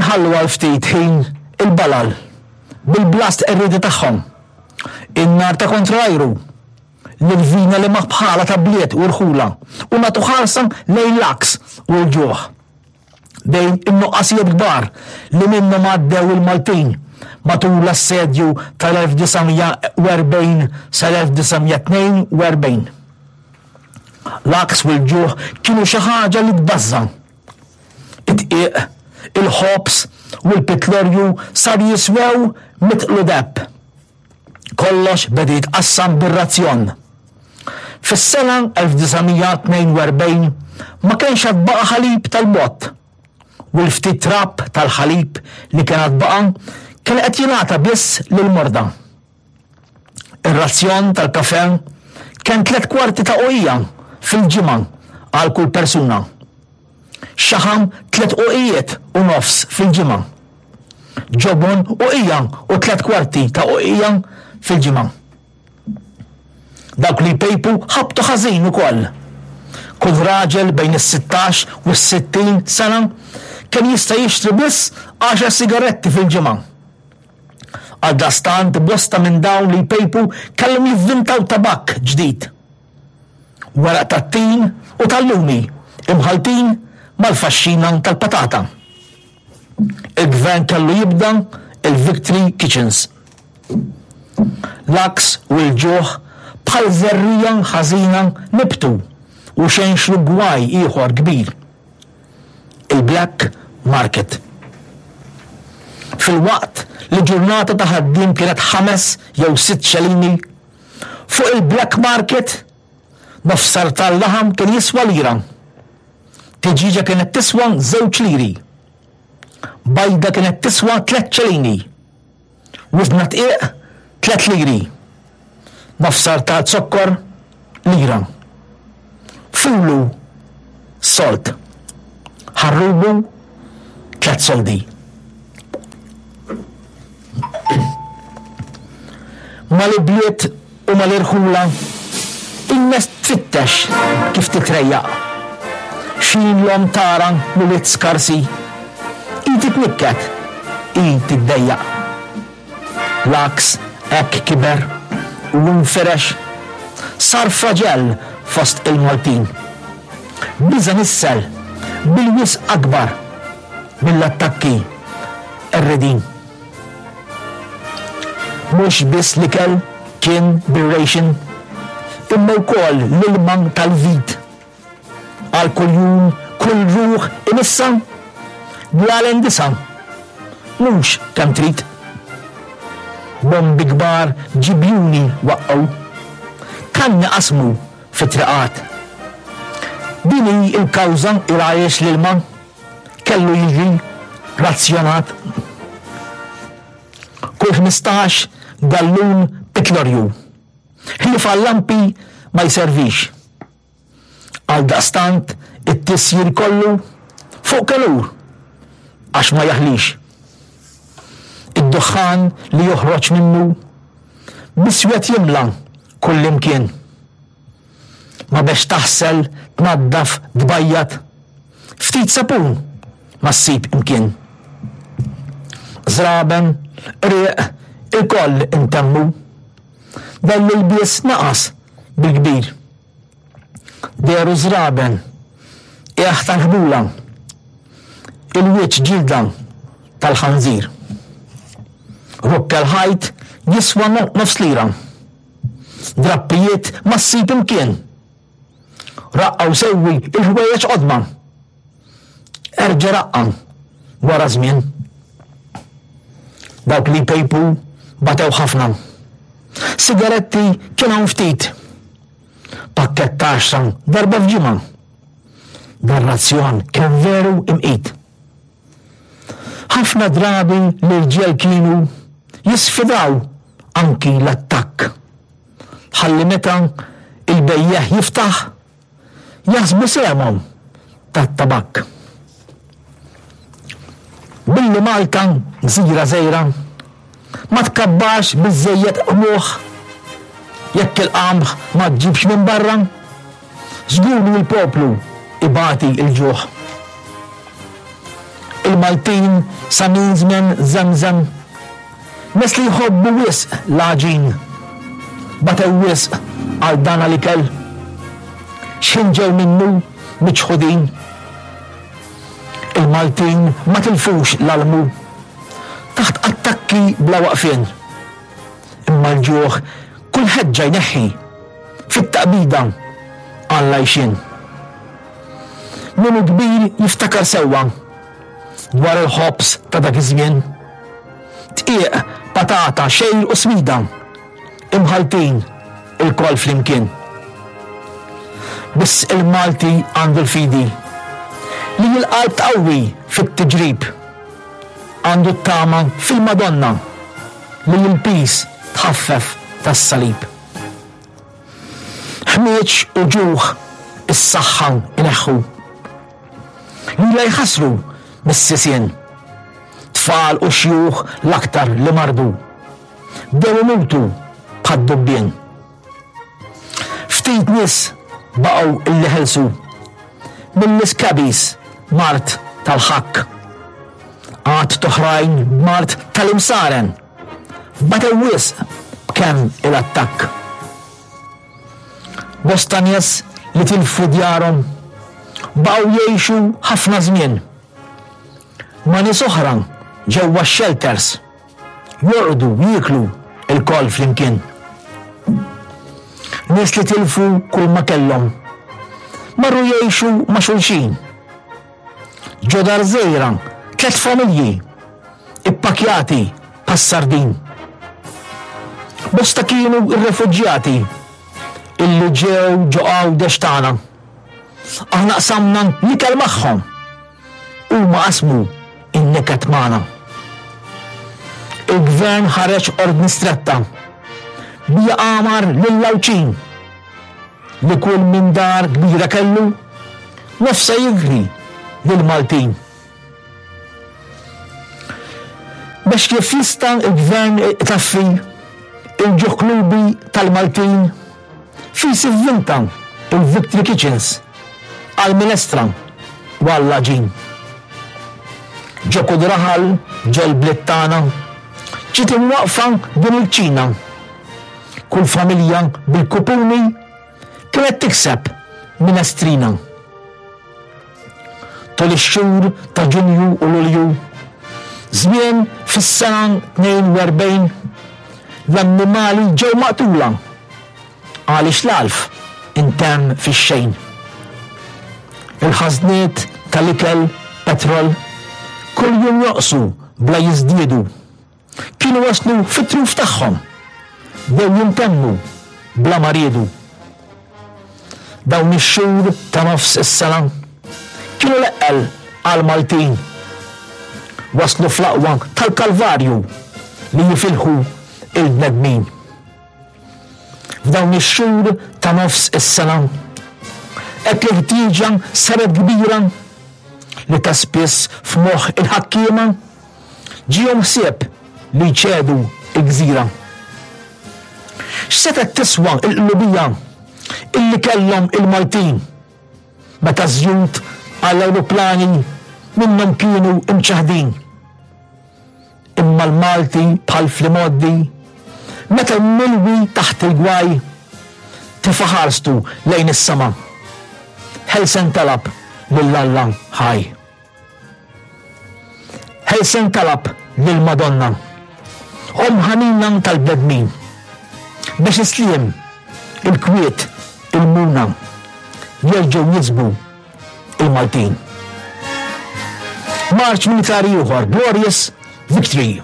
Inħallu għal ftit ħin il-balal bil-blast qerriedi tagħhom, in-nar ta' kontra l-ajru, l-irvina li ma bħalha ta' bliet u rħula u nagħtu ħarsa lejn l-għaks u l-ġuħ. Bejn in-nuqqasijiet kbar li minnhom għaddew il-Maltin matul l-assedju tal-1940 sal-1942. L-għaks u l-ġuħ kienu xi ħaġa li tbażża'. Id-dqiq, il-ħobż u l-pitlorju sar jiswew mitqlu deheb. Kollox beda jitqassam bir-razzjon. Fis-sena 1942 ma kienx għad baqa' ħalib tal-bott u l-ftit trab tal-ħalib li kien għad baqa' kien qed jingħata biss lill-morda. Ir-razzjon tal-kafè kien tlett kwarti ta' uqija fil-ġimgħa għal kull persuna. Xaħam tlett uqijiet u nofs fil-ġimgħa. Ġobon uqija u tlett kwarti ta' uqija fil-ġimgħa. Dawk li jpejpu ħabtu ħażin ukoll. Kull raġel bejn is-sittax u s-sittin sena kien jista' jixtri biss għaxar sigaretti fil-ġimgħa. Għaldaqstant bosta minn dawn li jpejpu kellhom jivvintaw tabakk ġdid. Weraq tat-tin u tal-lumi imħalltin mal-faxxina tal-patata. Il-Gvern kellu jibda il-Victory Kitchens. L-għaks u l-ġuħ bħal żerriegħa ħażina nibtu u xenxlu gwaj ieħor kbir. Il-black market. Filwaqt li ġurnata ta' ħaddiem kienet ħames jew sitt xelini, fuq il-black market nofs sartal laħam kien jiswa lira. Tiġieġa kienet tiswa żewġ liri. Bajda kienet tiswa tlett ċelini. Wizna dqiq tlett liri. Nofs ta' zokkor lira. Fulu sold. Ħarrubu tlett soldi. Mal-ibliet u mal-irħula in-nies tfittex kif titrejjaq. X'ħin l-omm tara l-ulied skarsi, hi titnikket, hi tiddejjaq. L-għaks hekk kiber u infirex, sar fraġell fost il-Maltin. Biża' nissel bil-wisq akbar mill-attakki qerridin. Mhux biss l-ikel kien bir-ration, imma wkoll l-ilma tal-vit. Għal kuljum kull ruħ imissha bl-għalen disa', mhux kemm trid. Bombi kbar ġibjuni waqqgħu, kanni qasmu fit-triqat. Din hi l-kawża il-għaliex l-ilma kellu jiġi razzjonat. Kull 15 gallun pitlorju. Ħlief għal-lampi ma jservix. Għaldaqstant it-tisjir kollu fuq kelur għax ma jaħlix. Id-duħħan li joħroġ minnu biswed jimla kullimkien. Ma bex taħsel, tnaddaf, tbajjad. Ftit sapun ma ssib imkien. Żraben, qrieq, ilkoll intemmu. Dan l-ilbies naqas bil-kbir. Dehru żraben, qiegħ tal-ħbula, il-wiċċ ġilda tal-ħanżir. Rokka l-ħajt jiswa nofs lira. Drappijiet ma ssib imkien. Raqqa u sewwi il-ħwejjeġ qodma. Erġa' raqqa wara żmien. Dawk li jpejpu batew ħafna. Sigaretti kien hawn ftit. Pakkett ta' għaxra darba f'ġimgħa. Dan razzjon kien veru imqit. Ħafna drabi l-irġiel kienu jisfidaw anki l-attakk. Ħalli meta il-bejjiegħ jiftaħ, jaħsbu sehemhom tat-tabakk. Billi Malta gżira żgħira, ma tkabbarx biżżejjed qmuħ jekk il-qamħ ma ġġibx minn barra, żgur li l-poplu ibati l-ġuħ. Il-Maltin sa minn żmien żemżem. Nies li jħobbu wisq l-għaġin. Batew wisq għal dan l-ikel. X'ħin ġew minnu miċħudin. Il-Maltin ma tilfux l-almu. Taħt attakki bla waqfien. Imma l-ġuħ kull ħeġġa jneħħi. Fit-taqbida għall-għajxien. Min hu kbir jiftakar sewwa dwar il-ħobż ta' dak iż-żmien. Dqiq, patata, xgħir u smida, imħalltin ilkoll flimkien. Biss il-Malti għandu l-fidi li l-qalb tqawwi fit-tiġrib. Għandu t-tama fil-Madonna li l-piż tħaffef tas-salib. Ħmieġ u ġuħ is-saħħa jneħħu. Lilha jħassru mis-sisien. Tfal u xjuħ l-aktar li mardu. Bdew imutu bħad-dubbien. Ftit nies baqgħu illi ħelsu mill-iskabis mard tal-ħakk. Għadd t'oħrajn b'mard tal-imsaren. Batew wisq b'kemm il-attakk. Bosta nies li tilfu djarhom baqgħu jgħixu ħafna żmien ma' nies oħra ġewwa x-shelters, jorqdu, jieklu lkoll flimkien. Nies li tilfu kulma kellhom marru jgħixu ma' xulxin. Ġo dar żgħira, tlett familji, ippakjati bħas-sardin. Bosta kienu r-refuġjati illi ġew ġo Għawdex tagħna. Aħna qsamna l-ikel magħhom, huma qasmu n-niket magħna. Il-Gvern ħareġ ordni stretta bija għamar lill-Għawdxin li kull min dar kbira kellu nofsha jikri lill-Maltin. Biex kif jista' l-Gvern itaffi il-ġuħ klubi tal-Maltin fis ivvinta il-Victory Kitchens għall-minestra u għall-għaġin. Ġo kull raħal ġol-bliet tagħna ġiet imwaqqfa din il-kċina. Kull familja bil-kupuni kienet tikseb minestrina. Tul ix-xhur ta' Ġunju u Lulju, żmien fis-sena 42, l-annimali ġew maqtula għaliex l-għalf intemm fix-xejn. Il-ħażniet tal-ikel, petrol, kuljum jonqsu bla jiżdiedu. Kienu waslu fit-truf tagħhom. Bdew jintemmu bla ma riedu. Dawn ix-xhur ta' nofs is-sena kienu l-eqqel għall-Maltin. Waslu fl-aqwa tal-Kalvarju li jifilħu il-bnedmin. F'dawn ix-xhur ta' nofs is-sena, hekk il-ħtieġa saret kbira li ta' spiss f'moħħ il-ħakkiema Ġiehom ħsieb li jċedu l-gżira. X'setgħet tiswa l-qlubija illi kellhom il-Maltin meta ż-żjut għall-ajruplani minnhom kienu mċaħħdin? Imma l-Malti bħal fl-imgħoddi, meta milwi taħt il-gwaj, tefa' ħarstu lejn is-sema. Ħelsen talab lil Alla ħaj. Ħelsen talab lill-Madonna, Omm ħanina tal-bnedmin, biex is-sliem, il-kwiet, il-muna jerġgħu jiksbu il-Maltin. Marċ militari ieħor, Glorious Victory.